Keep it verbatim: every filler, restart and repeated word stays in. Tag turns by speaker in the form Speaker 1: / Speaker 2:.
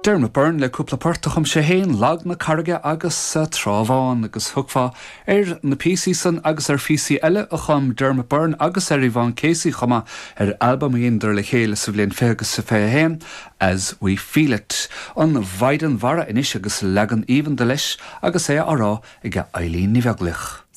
Speaker 1: Dermot Byrne le cúpla port a chum sé féin Lag na Carraige agus Trá Bháin agus thiocfá ar na píosaí san agus ar phíosaí eile a chum Dermot Byrne agus ar Yvonne Casey chomh maith ar albam a dheineadar le chéile sa bhliain fiche agus sa fiche haon as we feel it. An Mhaighdean Mhara anois agus leagan aoibhinn de leis agus é á rá ag Eileen Ní Bheaglaoich.